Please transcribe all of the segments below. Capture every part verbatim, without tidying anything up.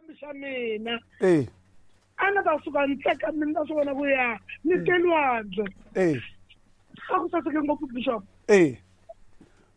Xikwembu xa mina eh a na ta suka ni tsaka mina ta swi vona ku ya ni te lwandle eh a ku saseke ngopfu bishop eh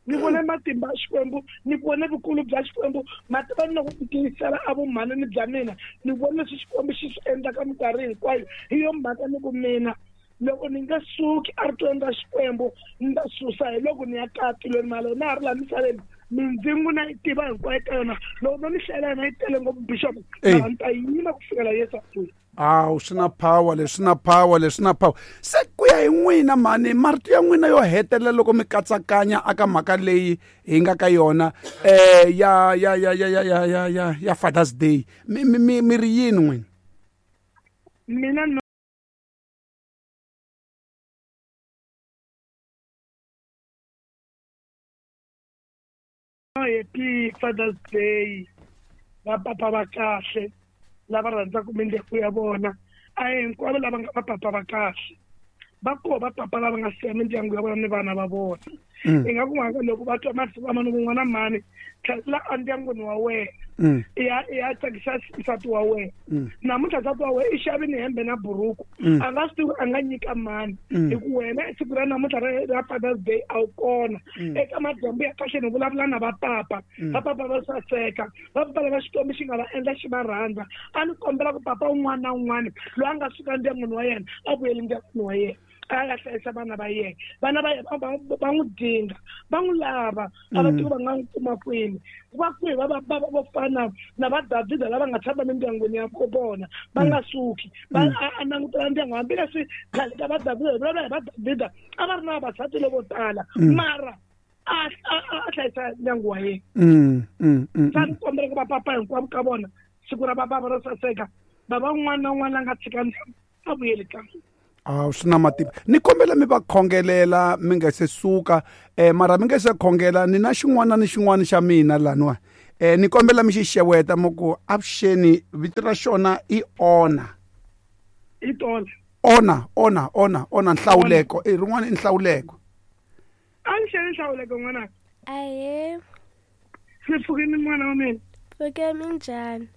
ni vone matimba ya Xikwembu ni vone vukulu bya Xikwembu matimba ni loko ku tiyisela a vumhanani bya mina ni vone leswi Xikwembu xi swi endlaka minkarhi hinkwayo hi yo mhaka ni ku mina loko ni nga suki eritweni ra Xikwembu ni ta susa hi loko ni ya kaya tilweni mara na ha ri laha misaveni mindzingu na yi tiva hinkwayo ka yona loko no ni hlayela yona yi tele ngopfu bishop mara ni ta yima ku fikela Yesu a vuya. Awu swi na power leswi na power leswi na power se ku ya hi n'wina mhani marito ya n'wina yo hetelela loko mi katsakanya aka mhaka leyi hi nga ka yona eh ya ya ya ya ya ya ya ya ya Father's Day mi mi mi mi ri yini n'wina? Mina no happy Father's Day va papa va kahle lava rhandzaka mindyangu ya vona a hi hinkwavo lava nga vapapa va kahle va koho vapapa lava nga siya mindyangu ya vona ni vana va vona i nga ku mhaka loko va twa masiku lama ni ku n'wana mhani tlhelela endyangwini wa wena i ya i ya tsakisa nsati wa wena namuntlha nsati wa wena i xavi ni hembe na buruku a nga swi tivi a nga nyika mani hi ku wena siku ra namuntlha ra ra Father's Day a wu kona eka madyambu ya kahle ni vulavula na vapapa vapapa va saseka vapapa lava Xikwembu xi nga va endla xi va rhandza a ni kombela ku papa un'wana na un'wana loyi a nga suka ndyangwini wa yena a vuyeli ndyangwini wa yena a ya hlayisa vana va yena vana va yena va va n'wi dinga va n'wi lava a va tivi va nga n'wi kuma kwini va kwihi va va va vo fana na va Davhida lava nga tshama mindyangwini ya vona va nga suki va a langutela ndyangu hambileswi khale ka va Davhida hi vulavula hi va Davhida a va ri na vavasati lavo tala mara a a a hlayisa ndyangu wa yena. Sa ni kombela ku va papa hinkwavo ka vona siku ra vabava ro saseka bava un'wana na un'wana la nga tshika ndyangu a vuyeli kaya. Awu swi na matimba ni kombela mi va khongelela mi nga se suka eh mara mi nga se khongela ni na xin'wana ni xin'wana xa mina laniwa eh ni kombela mi xi xeweta mi ku avuxeni vito ra xona i Ona i tola Ona Ona Ona Ona nhlawuleko i rin'wana i nhlawuleko a ni xeni nhlawuleko n'wanaka Ahee, swi pfukini n'wana wa mina pfuke minjhani?